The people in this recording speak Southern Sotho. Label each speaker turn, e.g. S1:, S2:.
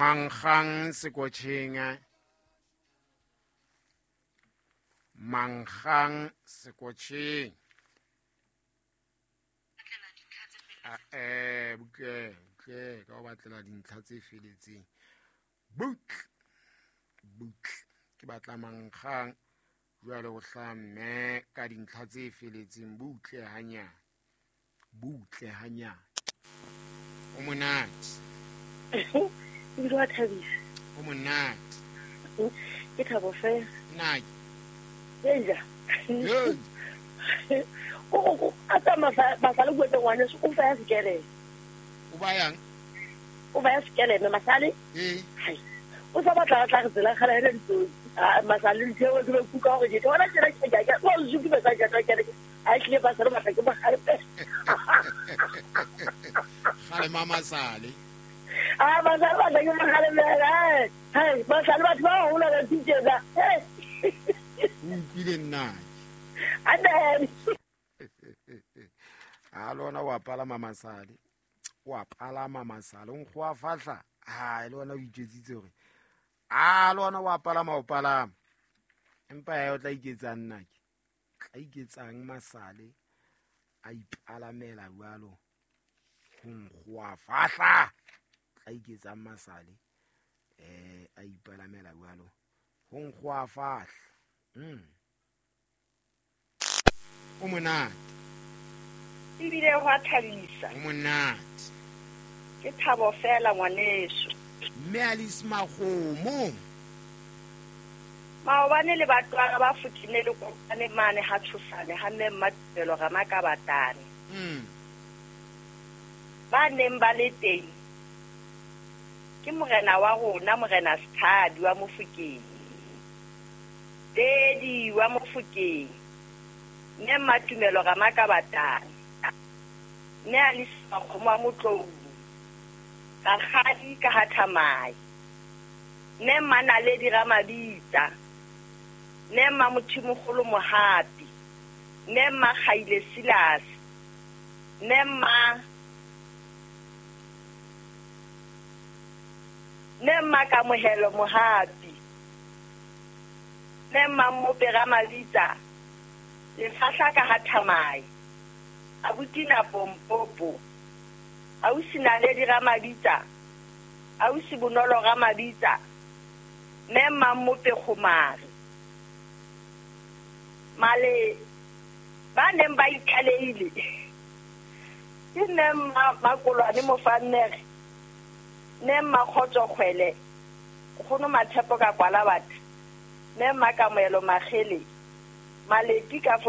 S1: Mankgang sekotjheng, mankgang sekotjheng. Butle butle ka o batlela dintlha tse feletseng. Butle butle ke batla mankgang jwale ho hlaha mme ka dintlha tse feletseng. Butle hanyane, butle hanyane. O monate.
S2: Ebile wa thabisa.
S1: O monate.
S2: Ke thabo fela.
S1: Nna ke.
S2: Eja. O a tsa masale bua tsa ngwaneso, o fa ya sekeleme.
S1: O ba yang?
S2: O ba ya sekeleme masale.
S1: Ee.
S2: Hai. O sa batla tla re tsela kgala ena ditsotsi. Ah, masale ntho ke be kuka hore ke bona tsela ke ke ke o zuki ba sa jata ke a tlile ba sa batla ke mogale.
S1: Gale mama sale.
S2: Ah, masale batla ke mogale mela. Hai, masale batho ba hola ba tijela.
S1: O utlwile nna.
S2: Amen.
S1: A lona wa palama masale. Wa palama masale. O nkgoa fahla. Ha le ona o itjetsitse hore a le ona wa palama o palama. Empa ya o tla iketsang nna ke. Tla iketsang masale a ipalamela jwalo. Ho nkgoa fahla. Tla iketsang masale a ipalamela jwalo. Ho nkgoa fahla. O monate.
S3: Ebile ho a thabisa.
S1: O monate.
S3: Ke thabo fela ngwaneso.
S1: Mme Alice Makgomo.
S3: Maobane le batwana ba fotile le kopane mane ha tshosane ha mme Mmatumelo Ramakabatane. Ba neng ba le teng ke morena wa rona, morena Sethabi wa Mofokeng. Dedi wa Mofokeng. Mme Mmatumelo Ramakabatane. Mme Alice Makgomo wa Motlou. Rakgadi ka ha Thamai. Mme Mmanaledi Ramabitsa. Mme Mmamothimogolo Mohapi. Mme Mmakgaile Silas. Mme Mmakamohelo Mohapi. Mme Mmamope Ramabitsa. Lefahla ka ha Thamai. Abuti Pompopo. Ausi Naledi Ramabitsa. Ausi Bonolo Ramabitsa. Mme Mmamope Kgomare. Male ba neng ba itlaleile. Ke mme Mmakolwane Mofannere. Mme Mmakgotso Kgwele. Nkgono Matshepo ka kwala batho. Mme Mmakamohelo Makgele. Maleti ka